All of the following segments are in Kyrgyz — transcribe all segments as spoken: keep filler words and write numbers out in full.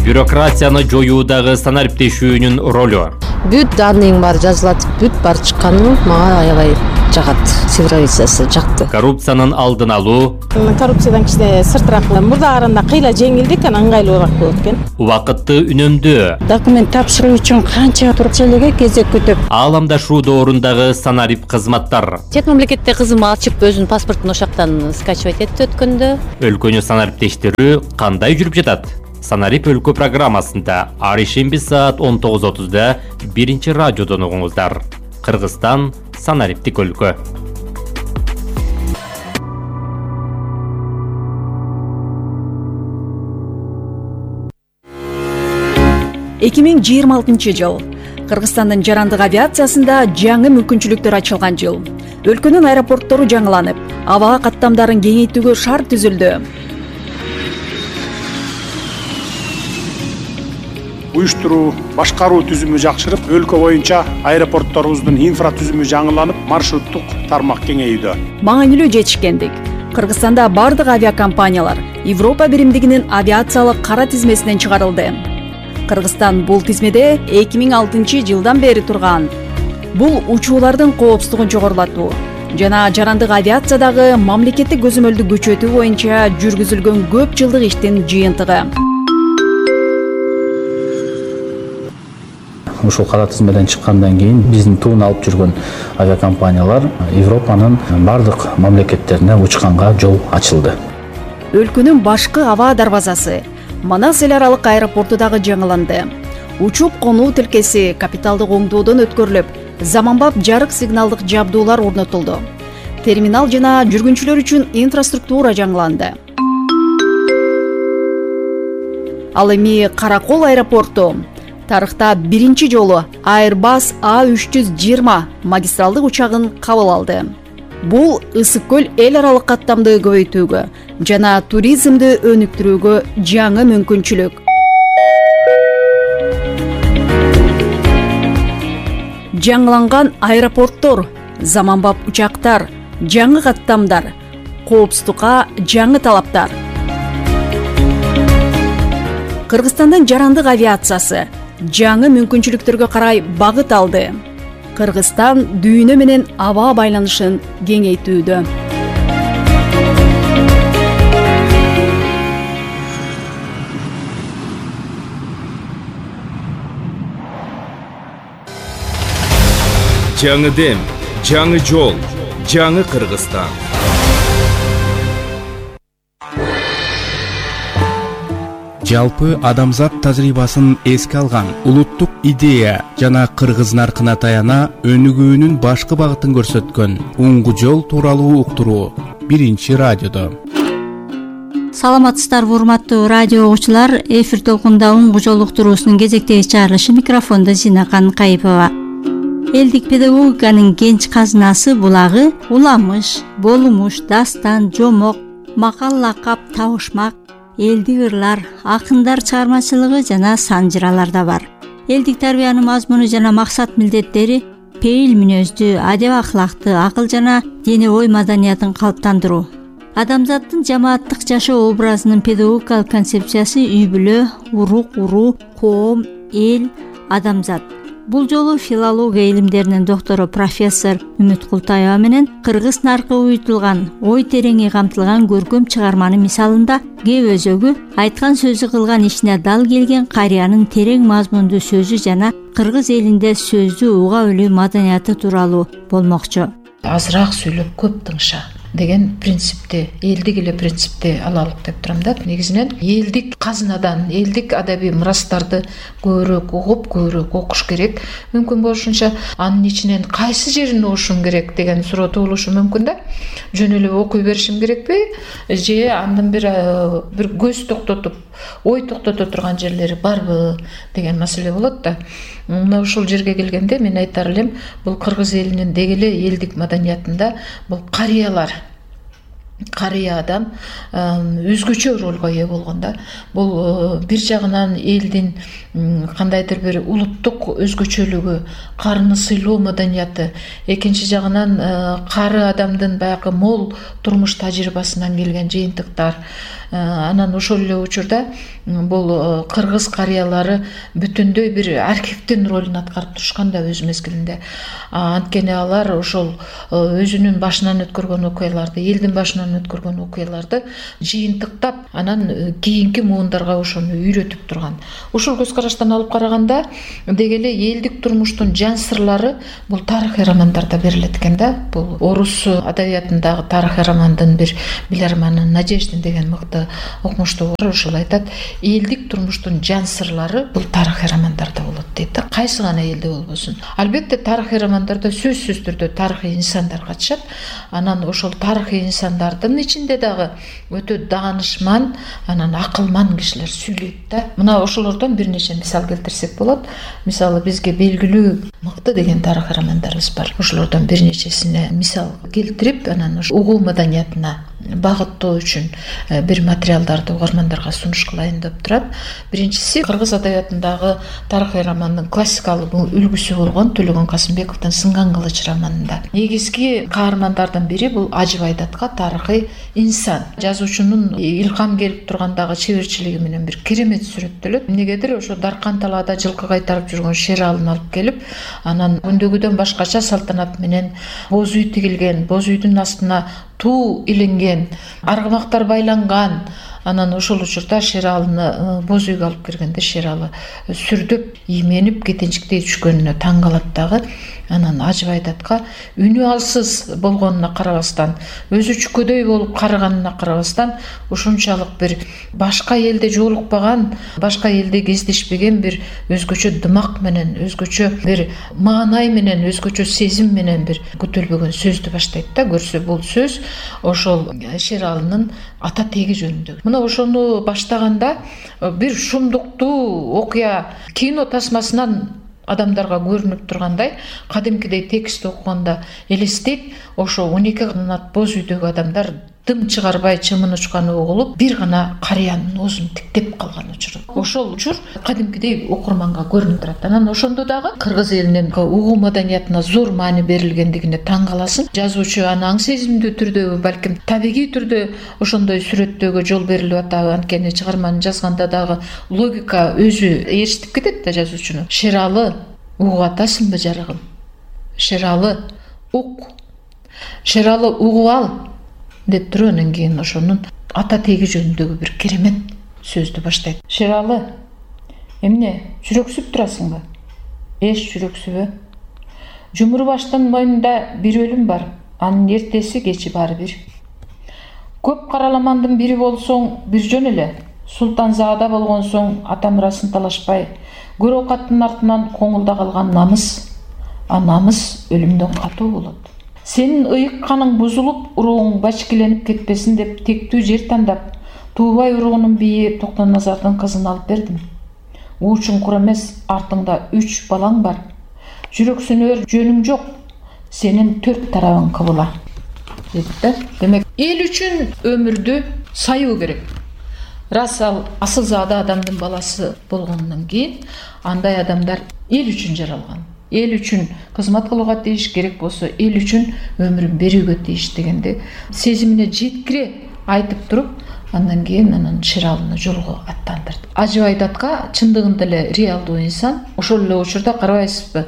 Бюрократияны жоюудагы санариптешүүнүн ролу. Бүт данныйың бар жазылат, бүт бар чыкканы мага аябай жагат. Цифровизациясы жакты. Коррупциянын алдын алуу. Коррупциядан кичине сыртыраак мурда караганда кыйла жеңилдик, анан ыңгайлуураак болот экен. Убакытты үнөмдөө. Документ тапшыруу үчүн канча турчу элеге кезек күтүп. Ааламдашуу доорундагы санарип кызматтар. Чет мамлекетте кызым ачып өзүнүн паспортун ошактан скачивать этти өткөндө. Өлкөнү санариптештирүү кандай жүрүп жатат? Санарип өлкө программасында ар ишемби саат он тогуз отузда биринчи радиодон угуңуздар. Кыргызстан санариптик өлкө. эки миң жыйырма алтынчы жыл. Кыргызстандын жарандык авиациясында жаңы мүмкүнчүлүктөр ачылган жыл. Өлкөнүн аэропорттору жаңыланып, аба каттамдарын кеңейтүүгө шарт түзүлдү. Уюштуруу, башкаруу түзүмү жакшырып, өлкө боюнча аэропортторубуздун инфра түзүмү жаңыланып, маршруттук тармак кеңейүүдө. Маанилүү жетишкендик. Кыргызстанда бардык авиакомпаниялар Европа биримдигинин авиациялык кара тизмесинен чыгарылды. Кыргызстан бул тизмеде эки миң алтынчы жылдан бери турган. Бул учуулардын коопсуздугун жогорулатуу жана жарандык авиациядагы мамлекеттик көзөмөлдү күчөтүү боюнча жүргүзүлгөн көп жылдык иштин жыйынтыгы. Ушул кара тизмеден чыккандан кийин биздин туун алып жүргөн авиакомпаниялар Европанын бардык мамлекеттерине учканга жол ачылды. Өлкөнүн башкы аба дарбазасы Манас эл аралык аэропорту дагы жаңыланды. Учуп конуу тилкеси капиталдык оңдоодон өткөрүлүп, заманбап жарык сигналдык жабдуулар орнотулду. Терминал жана жүргүнчүлөр үчүн инфраструктура жаңыланды. Ал эми Каракол аэропорту тарыхта биринчи жолу Airbus А үч жүз жыйырма магистралдык учагын кабыл алды. Бул Ысык көл эл аралык каттамды көбөйтүүгө жана туризмди өнүктүрүүгө жаңы мүмкүнчүлүк. Жаңыланган аэропорттор, заманбап учактар, жаңы каттамдар, коопсуздукка жаңы талаптар. Кыргызстандын жарандык авиациясы жаңы мүмкүнчүлүктөргө карай багыт алды. Кыргызстан дүйнө менен аба байланышын кеңейтүүдө. Жаңы дем, жаңы жол, жаңы Кыргызстан. Жалпы адамзат тажрыйбасын эске алган улуттук идея жана кыргыз наркына таяна өнүгүүнүн башкы багытын көрсөткөн уңгу жол тууралуу уктуруу биринчи радиодо. Саламатсыздарбы урматтуу радио угуучулар, эфир толкунда уңгу жол уктуруусунун кезектеги чыгарылышы, микрофондо Зинакан Кайыпова. Элдик педагогиканын кенч казынасы булагы уламыш, болумуш, дастан, жомок, макал, лакап, табышмак, элдик ырлар, акындар чыгармачылыгы жана сан жыраларда бар. Элдик тарбиянын мазмуну жана максат милдеттери пейил мүнөздү, адеп акылакты, акыл жана дене ой маданиятын калыптандыруу. Адамзаттын жамааттык жашоо образынын педагогикалык концепциясы үй бүлө, урук, уруу, коом, эл, адамзат. Бул жолу филология илимдеринин доктору профессор Үмүт Култаева менен кыргыз наркы уютулган, ой тереңи камтылган көркөм чыгарманын мисалында кеп өзөгү, айткан сөзү кылган ишине дал келген карыянын терең мазмундуу сөзү жана кыргыз элинде сөздү уга билүү маданияты тууралуу болмокчу. Азыраак сүйлөп көп тыңша деген принципти, элдик эле принципти алалык деп турам да. Негизинен элдик казынадан, элдик адабий мурастарды көбүрөөк угуп, көбүрөөк окуш керек. Мүмкүн болушунча анын ичинен кайсы жерин окушум керек деген суроо туулушу мүмкүн да. Жөн эле окуй беришим керекпи же андан бир бир көз токтотуп, ой токтото турган жерлери барбы деген маселе болот да. Мына ушул жерге келгенде мен айтар элем, бул кыргыз элинин деги эле элдик маданиятында бул карыялар, карыя адам өзгөчө ролго ээ болгон да. Бул бир жагынан элдин кандайдыр бир улуттук өзгөчөлүгү, карыны сыйлоо маданияты, экинчи жагынан кары адамдын баягы мол турмуш тажрыйбасынан келген жыйынтыктар, Анан ошол эле учурда бул кыргыз карыялары бүтүндөй бир архивдин ролун аткарып турушкан да өз мезгилинде. Анткени алар ошол өзүнүн башынан өткөргөн окуяларды, элдин башынан өткөргөн окуяларды жыйынтыктап, анан кийинки муундарга ошону үйрөтүп турган. Ушул көз караштан алып караганда деги эле элдик турмуштун жан сырлары бул тарыхый романдарда берилет экен да. Бул орус адабиятындагы тарыхый романдын бир биларманы Надеждин деген мыкты окумуштуу бар, ошол айтат, элдик турмуштун жан сырлары бул тарыхый романдарда болот дейт да. Кайсы гана элде болбосун. Албетте тарыхый романдарда сөзсүз түрдө тарыхый инсандар катышат. Анан ошол тарыхый инсандардын ичинде дагы өтө даанышман, анан акылман кишилер сүйлөйт да. Мына ошолордон бир нече мисал келтирсек болот. Мисалы бизге белгилүү мыкты деген тарыхый романдарыбыз бар. Ошолордон бир нечесине мисал келтирип, анан угуу маданиятына багыттоо үчүн бир материалдарды угармандарга сунуш кылайын деп турат. Биринчиси кыргыз адабиятындагы тарыхый романдын классикалык үлгүсү болгон Төлөгөн Касымбековдун Сынган кылыч романында негизги каармандардын бири бул Ажы Байдатка тарыхый инсан. Жазуучунун илгам келип тургандагы чеберчилиги менен бир керемет сүрөттөлөт. Эмнегедир ошо Даркан талаада жылкы кайтарып жүргөн Шералын алып келип, анан күндөгүдөн башкача салтанат менен боз үй тигилген, боз үйдүн астына туу иленген, аргымактар байланган. Анан ошол учурда Шералыны боз үйгө алып киргенде Шералы сүрдөп, ийменип кетенчиктей түшкөнүнө таң калат дагы. Анан Ажы Байдатка үнү алсыз болгонуна карабастан, өзү чүкөдөй болуп карыганына карабастан, ушунчалык бир башка элде жолукпаган, башка элде кездешпеген бир өзгөчө дымак менен, өзгөчө бир маанай менен, өзгөчө сезим менен бир көтөлбөгөн сөздү баштайт да. Көрсө бул сөз ошол Шералынын ата теги жөнүндө. Мына ошону баштаганда бир шумдуктуу окуя кино тасмасынан адамдарга көрүнүп тургандай, кадимкидей текст окуганда элестейт, ошо он эки канат боз үйдөгү адамдар дым чыгарбай чымын учканы угулуп, бир гана карыянын оозун тиктеп калган учур. Ошол учур кадимкидей окурманга көрүнүп турат. Анан ошондо дагы кыргыз элинин угуу маданиятына зор маани берилгендигине таң каласың. Жазуучу аны аң сезимдүү түрдө, балким табигый түрдө ошондой сүрөттөөгө жол берилип атабы. Анткени чыгарманы жазганда дагы логика өзү ээрчитип кетет да жазуучуну. Шералы угуп атасыңбы жарыгым? Шералы ук. Шералы угуп ал деп туруп, анан кийин ошонун ата теги жөнүндөгү бир керемет сөздү баштайт. Шералы, эмне, жүрөксүп турасыңбы? Эч жүрөксүбө? Жумурбаштын мойнунда бир өлүм бар, анын эртеси кечи баары бир. Көп караламандын бири болсоң бир жөн эле, султанзаада болгон соң ата мурасын талашпай, көр оокаттын артынан коңулда калган намыс, а намыс өлүмдөн катуу болот. Сенин ыйык каның бузулуп, урууң бачкеленип кетпесин деп тектүү жер тандап, Туубай уруунун бийи Токтоназардын кызын алып бердим. Уучуң кур эмес, артыңда үч балаң бар. Жүрөксүнөр жөнүң жок, сенин төрт тарабың кыбыла. Депти. Демек, эл үчүн өмүрдү саюу керек. Рас ал асылзаада адамдын баласы болгондон кийин, андай адамдар эл үчүн жаралган. Эл үчүн кызмат кылууга тийиш, керек болсо эл үчүн өмүрүн берүүгө тийиш дегенди сезимине жеткире айтып туруп, андан кийин анан Шералыны жолго аттандырды. Ажы Байдатка чындыгында эле реалдуу инсан. Ошол эле учурда карабайсызбы,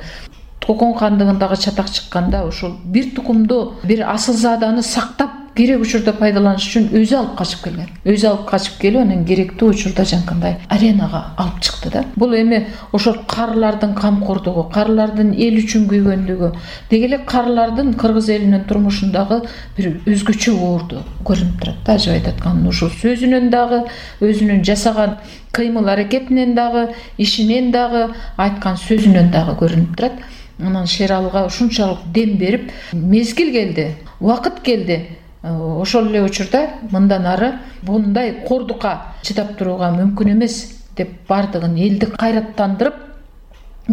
Кокон хандыгындагы чатак чыкканда ошол бир тукумду, бир асылзааданы сактап керек учурда пайдаланыш үчүн өзү алып качып келген. Өзү алып качып келип, анан керектүү учурда жанкандай аренага алып чыкты да. Бул эми ошол карылардын камкордугу, карылардын эл үчүн күйгөндүгү, деги эле карылардын кыргыз элинин турмушундагы бир өзгөчө оорду көрүнүп турат да. Ажы Байдатканын ушул сөзүнөн дагы, өзүнүн жасаган кыймыл аракетинен дагы, ишинен дагы, айткан сөзүнөн дагы көрүнүп турат. Анан Шералыга ушунчалык дем берип, мезгил келди, убакыт келди. Ошол эле учурда мындан ары мындай кордукка чыдап турууга мүмкүн эмес деп бардыгын элди кайраттандырып,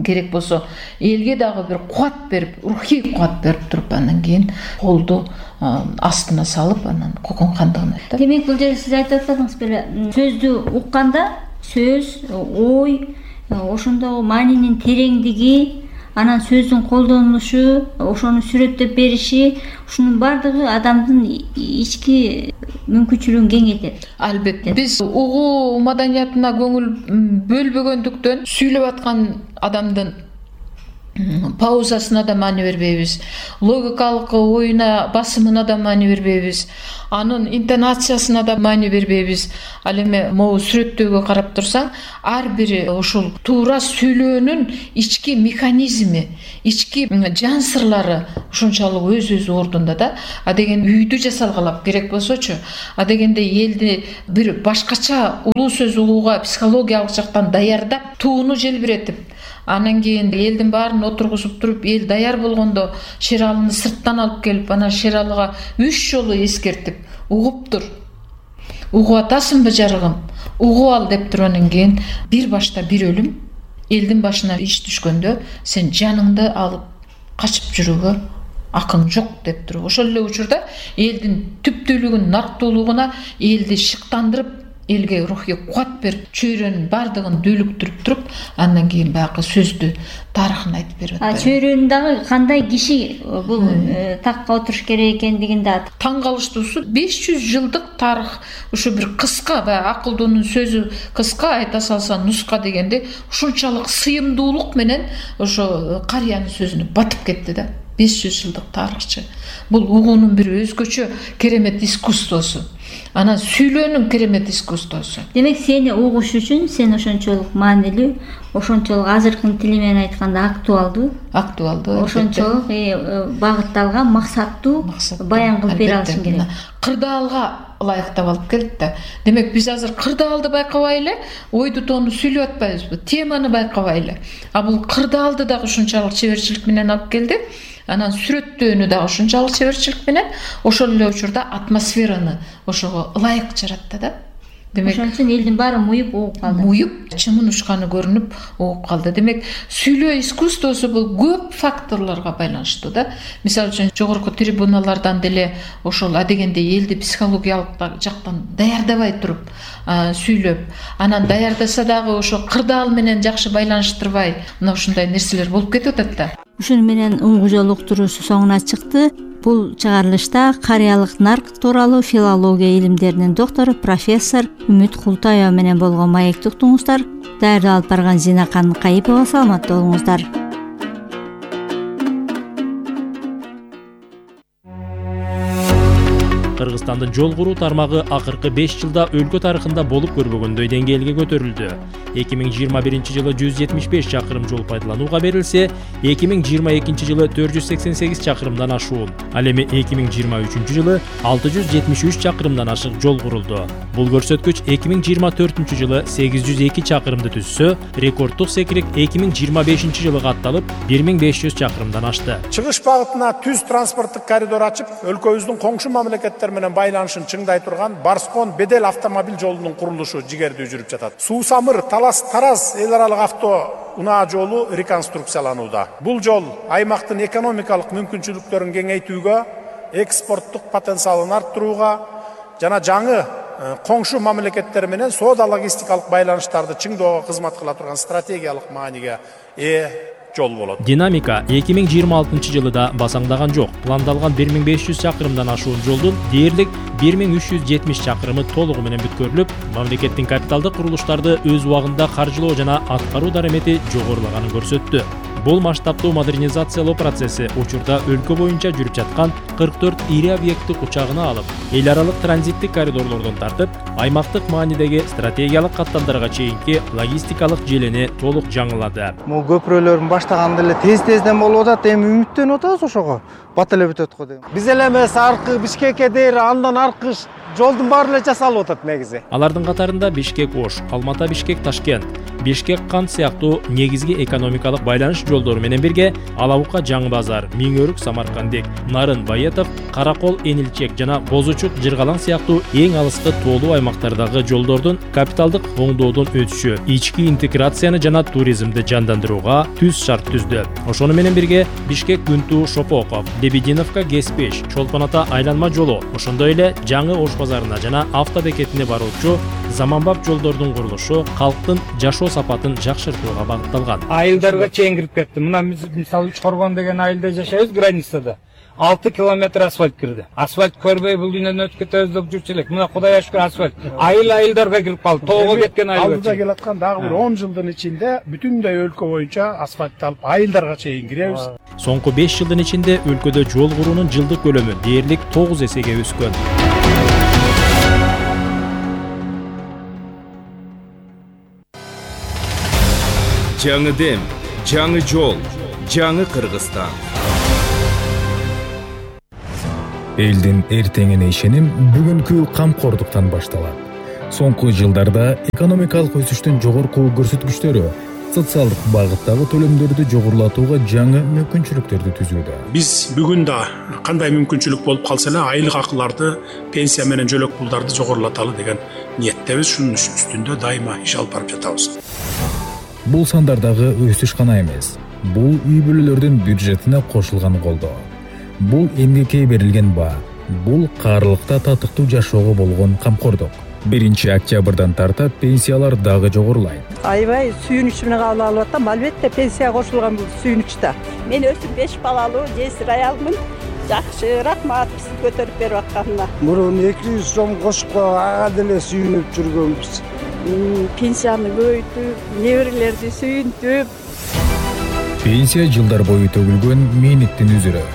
керек болсо элге дагы бир кубат берип, рухий кубат берип туруп, андан кийин колду астына салып, анан Кокон хандыгына өттү. Демек, бул жерде сиз айтып атпадыңыз беле, сөздү укканда сөз, ой, ошондогу маанинин тереңдиги, анан сөздүн колдонулушу, ошону сүрөттөп бериши, ушунун баардыгы адамдын ички мүмкүнчүлүгүн кеңейтет. Албетте. Биз угуу маданиятына көңүл бөлбөгөндүктөн сүйлөп аткан адамдын паузасына да маани бербейбиз, логикалык оюна басымына да маани бербейбиз, анын интонациясына да маани бербейбиз. Ал эми могу сүрөттөгө карап турсаң, ар бири ушул туура сүйлөөнүн ички механизми, ички жан сырлары ушунчалык өз-өз ордунда да. А деген үйдү жасалгалап керек болсочу, а дегенде элди бир башкача улуу сөз угууга психологиялык жактан даярдап, тууну желбиретип, анан кийин элдин баарын отургузуп туруп, эл даяр болгондо Шералыны сырттан алып келип, анан Шералыга үч жолу эскертип, угуп тур, угуп атасыңбы жарыгым, угуп ал деп тургандан кийин бир башта бир өлүм, элдин башына иш түшкөндө сен жаныңды алып качып жүрүүгө акың жок деп туруп, ошол эле учурда элдин түптүүлүгүн, нарктуулугуна элди шыктандырып, элге рухий кубат берип, чөйрөнүн бардыгын дүүлүктүрүп туруп, андан кийин баягы сөздү тарыхын айтып берип атат. А чөйрөнүн дагы кандай киши бул такка отуруш керек экендигин да таң калыштуусу беш жүз жылдык тарых, ушу бир кыска, баягы акылдуунун сөзү кыска, айта салса нуска дегенде ушунчалык сыйымдуулук менен ошо карыянын сөзүнө батып кетти да. беш жүз жылдык тарыхчы. Бул угуунун бир өзгөчө керемет искусствосу. Анан сүйлөөнүн керемет искусствосу. Демек сени угуш үчүн сен ошончолук маанилүү, ошончолук азыркы тили менен айтканда актуалдуу, актуалдуу, ошончолук багытталган, максаттуу баян кылып бере алышың керек. Кырдаалга ылайыктап алып келет да. Демек биз азыр кырдаалды байкабай эле ойду тоону сүйлөп атпайбызбы, теманы байкабай эле. А бул кырдаалды дагы ушунчалык чеберчилик менен алып келди. Анан сүрөттөөнү дагы ушунчалык чеберчилик менен, ошол эле учурда атмосфераны ошого ылайык жаратты да. Демек, ошон үчүн элдин баары муюп угуп калды. Муюп, чымын учканы көрүнүп угуп калды. Демек, сүйлөө искусствосу бул көп факторлорго байланыштуу да. Мисалы үчүн жогорку трибуналардан деле ошол адегенде элди психологиялык жактан даярдабай туруп сүйлөп, анан даярдаса дагы ошо кырдаал менен жакшы байланыштырбай, мына ушундай нерселер болуп кетип атат да. Ушуну менен уңгу жол уктуруусу соңуна чыкты. Бул чыгарылышта карыялык нарк тууралуу филология илимдеринин доктору профессор Үмүт Култаева менен болгон маекти уктуңуздар. Даярдап алып барган Зинакан Кайыпова. Саламатта болуңуздар. Кыргызстандын жол куруу тармагы акыркы беш жылда өлкө тарыхында болуп көрбөгөндөй деңгээлге көтөрүлдү. эки миң жыйырма биринчи жылы жүз жетимиш беш чакырым жол пайдаланууга берилсе, эки миң жыйырма экинчи жылы төрт жүз сексен сегиз чакырымдан ашуун. Ал эми эки миң жыйырма үчүнчү жылы алты жүз жетимиш үч чакырымдан ашык жол курулду. Бул көрсөткүч эки миң жыйырма төртүнчү жылы сегиз жүз эки чакырымды түзсө, рекорддук секирик эки миң жыйырма бешинчи жылы катталып бир миң беш жүз чакырымдан ашты. Чыгыш багытына түз транспорттук коридор ачып, өлкөбүздүн коңшу мамлекеттер менен байланышын чыңдай турган Барскон Бедел автомобиль жолунун курулушу жигердүү жүрүп жатат. Суу-Самыр Талас Тараз эл аралык авто унаа жолу реконструкцияланууда. Бул жол аймактын экономикалык мүмкүнчүлүктөрүн кеңейтүүгө, экспорттук потенциалын арттырууга жана жаңы коңшу мамлекеттер менен соода-логистикалык байланыштарды чыңдоого кызмат кыла турган стратегиялык мааниге ээ жол болот. Динамика эки миң жыйырма алтынчы жылда басаңдаган жок. Пландалган бир миң беш жүз чакырымдан ашуун жолдун дээрлик бир миң үч жүз жетимиш чакырымы толугу менен бүткөрүлүп, мамлекеттин капиталдык курулуштарды өз убагында каржылоо жана аткаруу дарамети жогорулаганын көрсөттү. Бул масштабтуу модернизациялоо процесси учурда өлкө боюнча жүрүп жаткан кырк төрт ири объекттик учагына алып, эл аралык транзиттик коридорлордон тартып, аймактык маанидеги стратегиялык каттамдарга чейинки логистикалык желени толук жаңылады. Могу көпүрөлөрдүн баштаганда эле тез-тезден болуп атат, эми үмүттөнүп атабыз ошого. Бат эле бүтөт го деп. Биз эле эмес аркы Бишкекке дейин андан аркы жолдун баары эле жасалып атат негизи. Алардын катарында Бишкек-Ош, Алмата-Бишкек-Ташкент, Бишкек-Кант сыяктуу негизги экономикалык байланыш жолдору менен бирге Алабука-Жаңы базар, Миңөрүк-Самаркандек, Нарын-Байетов, Каракол-Энилчек жана Бозучук-Жыргалаң сыяктуу эң алыскы тоолуу аймактардагы жолдордун капиталдык оңдоодон өтүшү ички интеграцияны жана туризмди жандандырууга түз шарт түздү. Ошону менен бирге Бишкек-Күнту-Шопоков, Лебединовка-Геспеш, Чолпон-Ата айланма жолу, ошондой эле Жаңы Ош базарына жана автобекетине баруучу заманбап жолдордун курулушу калктын жашоо сапатын жакшыртууга багытталган. Айылдарга чейин кирип кетти. Мына мисалы Үч Коргон деген айылда жашайбыз, границада. алты километр асфальт кирди. Асфальт көрбөй бул дүйнөдөн өтүп кетебиз деп жүрчү элек. Мына Кудайга шүкүр асфальт. Айыл айылдарга кирип калды. Тоого кеткен айыл. Алдыда келаткан дагы бир он жылдын ичинде бүтүндөй өлкө боюнча асфальтталып айылдарга чейин киребиз. Соңку беш жылдын ичинде өлкөдө жол куруунун жылдык көлөмү дээрлик тогуз эсеге өскөн. Жаңы дем, жаңы жол, жаңы Кыргызстан. Элдин эртеңине ишеним бүгүнкү камкордуктан башталат. Соңку жылдарда экономикалык өсүштүн жогорку көрсөткүчтөрү социалдык багыттагы төлөмдөрдү жогорулатууга жаңы мүмкүнчүлүктөрдү түзүүдө. Биз бүгүн да кандай мүмкүнчүлүк болуп калса эле айлык акыларды, пенсия менен жөлөк пулдарды жогорулаталы деген ниеттебиз. Шунун үстүндө дайыма иш алып барып жатабыз. Бул сандардагы өсүш гана эмес, бул үй бүлөлөрдүн бюджетине кошулган колдоо. Бул эмгекке берилген баа, бул каарылыкта татыктуу жашоого болгон камкордук. биринчи октябрдан тарта пенсиялар дагы жогорулайт. Аябай сүйүнүч менен кабыл алып атам. Албетте пенсия кошулган бул сүйүнүч да. Мен өзүм беш балалуу жесир аялмын. Жакшы, рахмат бизди көтөрүп берип атканына. Мурун эки жүз сом кошупко ага деле сүйүнүп жүргөнбүз. Пенсияны көбөйтүп, неберелерди сүйүнтүп. Пенсия жылдар бою төгүлгөн мээнеттин үзүрү.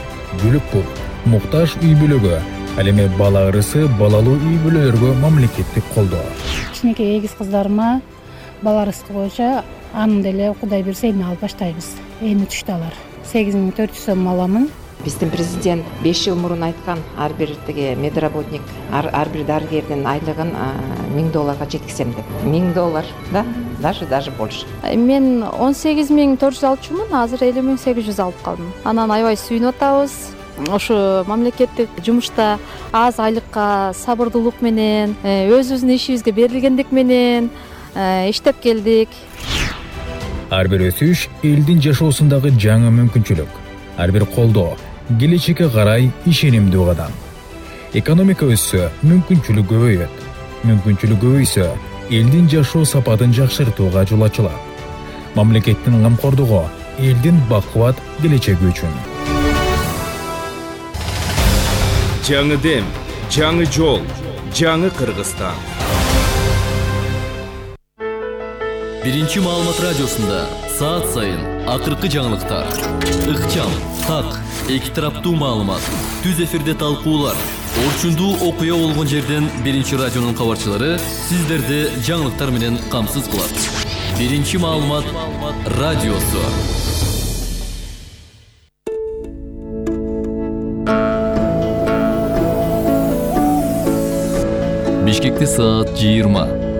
Бөлүк пул, муктаж үй бүлөгө, ал эми бала ырысы балалуу үй бүлөлөргө мамлекеттик колдоо. Кичинекей эгиз кыздарыма бала ырыскы боюнча анын деле Кудай берсе эми алып баштайбыз. Эми түштү алар. сегиз миң төрт жүз сом аламын. Биздин президент беш жыл мурун айткан ар бир тиги медработник, ар бир дарыгердин айлыгын миң долларга жеткизем деп. миң доллар, да, даже даже больше. Мен он сегиз миң төрт жүз алчумун, азыр элүү миң сегиз жүз алып калдым. Анан аябай сүйүнүп атабыз. Ошо мамлекеттик жумушта аз айлыкка сабырдуулук менен, өзүбүздүн ишибизге берилгендик менен иштеп келдик. Ар бир өсүш элдин жашоосундагы жаңы мүмкүнчүлүк, ар бир колдоо келечекке карай ишенимдүү кадам. Экономика өссө, мүмкүнчүлүк көбөйөт. Мүмкүнчүлүк көбөйсө, элдин жашоо сапатын жакшыртууга жол ачылат. Мамлекеттин камкордугу элдин бакубат келечеги үчүн. Жаңы дем, жаңы жол, жаңы Кыргызстан. Биринчи маалымат радиосунда саат сайын акыркы жаңылыктар, ыкчам, так, эки тараптуу маалымат, түз эфирде талкуулар, орчундуу окуя болгон жерден Биринчи радионун кабарчылары сиздерди жаңылыктар менен камсыз кылат. Биринчи маалымат радиосу. Бишкекте саат жыйырма.